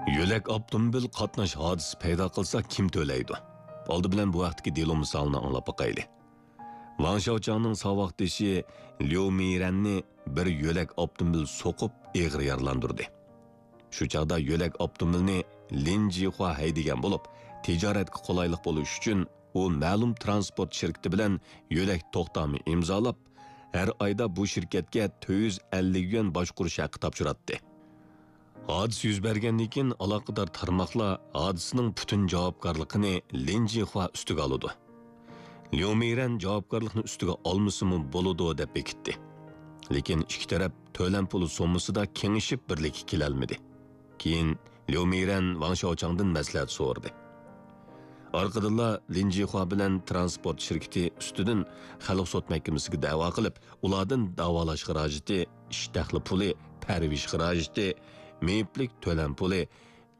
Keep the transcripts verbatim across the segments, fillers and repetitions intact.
يۆلەك ئاپتوموبىل قاتناش ھادىسىسى پەيدا قىلسا، كىم تۆلەيدۇ؟ ئالدى بىلەن بۇ ھەقتىكى دېلو مىسالىنى ئاڭلاپ باقايلى. ۋاڭ شياۋچاڭنىڭ ساۋاقدىشى ليۇ مىرەننى بىر يۆلەك ئاپتوموبىل سوقۇپ ئېغىر يارىلاندۇردى. شۇ چاغدا يۆلەك ئاپتوموبىلنى لىن جىخۇا ھەيدىگەن بولۇپ، تىجارەتكە قولايلىق بولۇش ئۈچۈن ئۇ مەلۇم تىرانسپورت شىركىتى بىلەن يۆلەك توختامى ئىمزالاپ، ھەر ئايدا بۇ شىركەتكە تۆت يۈز ئەللىك يۈەن باشقۇرۇش ھەققى تاپشۇراتتى. ھادىسە يۈز بەرگەندىن كېيىن، ئالاقىدار تارماقلار ھادىسىنىڭ پۈتۈن جاۋابكارلىقىنى لىن جىخۇا ئۈستىگە ئالىدۇ. ليۇ مىرەن جاۋابكارلىقنى ئۈستىگە ئالمىسىمۇ بولىدۇ، دەپ بېكىتتى. لېكىن ئىككى تەرەپ تۆلەم پۇلى سوممىسىدا كېڭىشىپ بىرلىككە كېلەلمىدى. كېيىن ليۇ مىرەن ۋاڭ شياۋچاڭدىن مەسلىھەت سورىدى. ئارقىدىنلا لىن جىخۇا بىلەن تىرانسپورت شىركىتى ئۈستىدىن خەلق سوت مەھكىمىسىگە دەۋا قىلىپ، ئۇلاردىن داۋالاش خىراجىتى، ئىش دەخلى پۇلى، پەرۋىش خىراجىتى، مېيىپلىك تۆلەم پۇلى،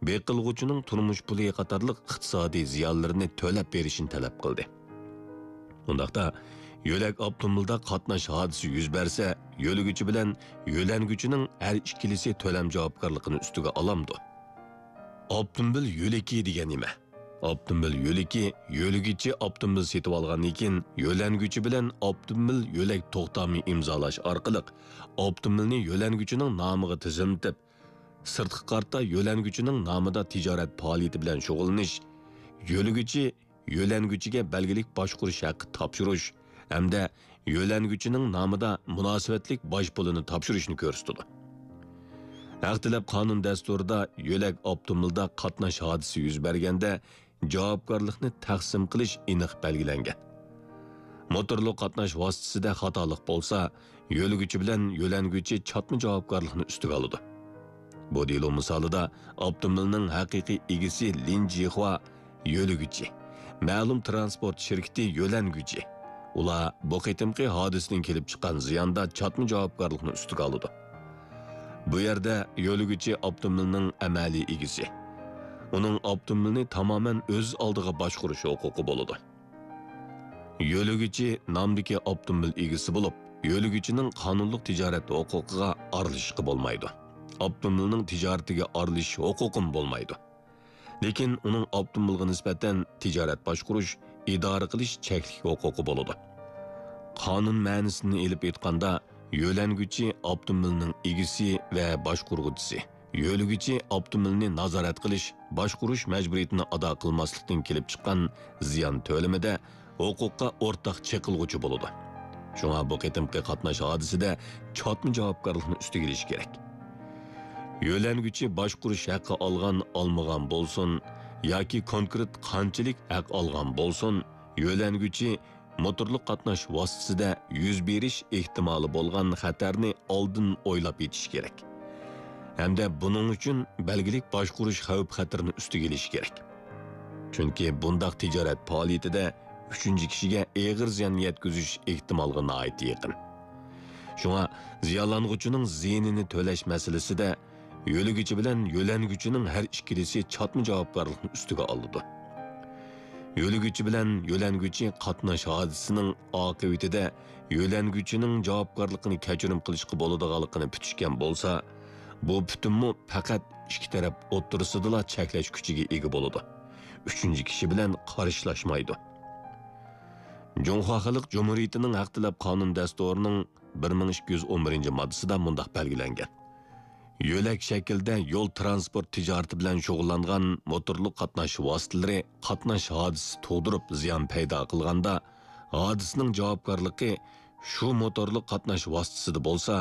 بېقىلغۇچىنىڭ تۇرمۇش پۇلى قاتارلىق ئىقتىسادىي زىيانلىرىنى تۆلەپ بېرىشىنى تەلەپ قىلدى. ئۇنداقتا، يۆلەك ئاپتوموبىلدا قاتناش ھادىسىسى يۈز بەرسە، يۆلىگۈچى بىلەن يۆلەنگۈچىنىڭ ھەر ئىككىلىسى تۆلەم جاۋابكارلىقىنى ئۈستىگە ئالامدۇ؟ ئاپتوموبىل يۆلىكى دېگەن نېمە؟ ئاپتوموبىل يۆلىكى يۆلىگۈچى ئاپتوموبىل سېتىۋالغاندىن كېيىن، يۆلەنگۈچى بىلەن ئاپتوموبىل يۆلەك توختامى ئىمزالاش ئارقىلىق ئاپتوموبىلنى يۆلەنگۈچىنىڭ نامىغا تىزىملىتىپ، سىرتقا قارىتا يۆلەنگۈچىنىڭ نامىدا تىجارەت پائالىيىتى بىلەن شۇغۇللىنىش، يۆلىگۈچى يۆلەنگۈچىگە بەلگىلىك باشقۇرۇش ھەققى تاپشۇرۇش ھەمدە يۆلەنگۈچىنىڭ نامىدا مۇناسىۋەتلىك باج پۇلىنى تاپشۇرۇشنى كۆرسىتىدۇ. ھەق تەلەپ قانۇن دەستۇرىدا يۆلەك ئاپتوموبىلدا قاتناش ھادىسىسى يۈز بەرگەندە جاۋابكارلىقنى تەقسىم قىلىش ئېنىق بەلگىلەنگەن. موتورلۇق قاتناش ۋاسىتىسىدە خاتالىق بولسا، يۆلىگۈچى بىلەن يۆلەنگۈچى چاتما جاۋابكارلىقنى ئۈستىگە ئالىدۇ. بۇ دېلو مىسالىدا ئاپتوموبىلنىڭ ھەقىقىي ئىگىسى لىن جىخۇا يۆلىگۈچى، مەلۇم تىرانسپورت شىركىتى يۆلەنگۈچى. ئۇلار بۇ قېتىمقى ھادىسىدىن كېلىپ چىققان زىياندا چاتما جاۋابكارلىقنى ئۈستىگە ئالىدۇ. بۇ يەردە يۆلىگۈچى ئاپتوموبىلنىڭ ئەمەلىي ئىگىسى. ئۇنىڭ ئاپتوموبىلنى تامامەن ئۆز ئالدىغا باشقۇرۇش ھوقۇقى بولىدۇ. يۆلىگۈچى نامدىكى ئاپتوموبىل ئىگىسى بولۇپ، يۆلىگۈچىنىڭ قانۇنلۇق تىجارەت ھوقۇقىغا ئارىلىشىشقا بولمايدۇ. ئاپتوموبىلنىڭ تىجارىتىگە ئارىلىشىش ھوقۇقىمۇ بولمايدۇ. لېكىن ئۇنىڭ ئاپتوموبىلغا نىسبەتەن تىجارەت باشقۇرۇش، ئىدارە قىلىش چەكلىك ھوقۇقى بولىدۇ. قانۇن مەنىسىنى ئېلىپ ئېيتقاندا، يۆلەنگۈچى ئاپتوموبىلنىڭ ئىگىسى ۋە باشقۇرغۇچىسى، يۆلىگۈچى ئاپتوموبىلنى نازارەت قىلىش، باشقۇرۇش مەجبۇرىيىتىنى ئادا قىلماسلىقتىن كېلىپ چىققان زىيان تۆلىمىدە ھوقۇققا ئورتاق چېقىلغۇچى بولىدۇ. شۇڭا بۇ قېتىمقى قاتناش ھادىسىدە چاتما جاۋابكارلىقنى ئۈستىگە ئېلىش كېرەك. يۆلەنگۈچى باشقۇرۇش ھەققى ئالغان، ئالمىغان بولسۇن ياكى كونكرېت قانچىلىك ھەق ئالغان بولسۇن، يۆلەنگۈچى موتورلۇق قاتناش ۋاسىتىسىدە يۈز بېرىش ئېھتىمالى بولغان خەتەرنى ئالدىن ئويلاپ يېتىشى كېرەك. ھەمدە بۇنىڭ ئۈچۈن بەلگىلىك باشقۇرۇش خەۋپ-خەتىرىنى ئۈستىگە ئېلىشى كېرەك. چۈنكى بۇنداق تىجارەت پائالىيىتىدە ئۈچىنچى كىشىگە ئېغىر زىيان يەتكۈزۈش ئېھتىمالغا ناھايىتى يېقىن. شۇڭا زىيانلانغۇچىنىڭ زىيىنىنى تۆلەش مەسىلىسىدە يۆلىگۈچى بىلەن يۆلەنگۈچىنىڭ ھەر ئىككىلىسى چاتما جاۋابكارلىقنى ئۈستىگە ئالىدۇ. يۆلىگۈچى بىلەن يۆلەنگۈچى قاتناش ھادىسىسىنىڭ ئاقىۋىتىدە يۆلەنگۈچىنىڭ جاۋابكارلىقىنى كەچۈرۈم قىلىشقا بولىدىغانلىقىنى پۈتۈشكەن بولسا، بۇ پۈتۈممۇ پەقەت ئىككى تەرەپ ئوتتۇرىسىدىلا چەكلەش كۈچىگە ئىگە بولىدۇ. ئۈچىنچى كىشى بىلەن قارشىلاشمايدۇ. جۇڭخۇا خەلق جۇمھۇرىيىتىنىڭ ھەق تەلەپ قانۇن دەستۇرىنىڭ بىر مىڭ ئىككى يۈز ئون بىرىنچى ماددىسىدا مۇنداق بەلگىلەنگەن: يۆلەك شەكىلدە يول تىرانسپورت تىجارىتى بىلەن شۇغۇللانغان موتورلۇق قاتناش ۋاسىتىلىرى قاتناش ھادىسىسى تۇغدۇرۇپ زىيان پەيدا قىلغاندا، ھادىسىنىڭ جاۋابكارلىقى شۇ موتورلۇق قاتناش ۋاسىتىسىدە بولسا،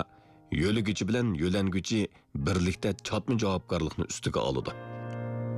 يۆلىگۈچى بىلەن يۆلەنگۈچى بىرلىكتە چاتما جاۋابكارلىقنى ئۈستىگە ئالىدۇ.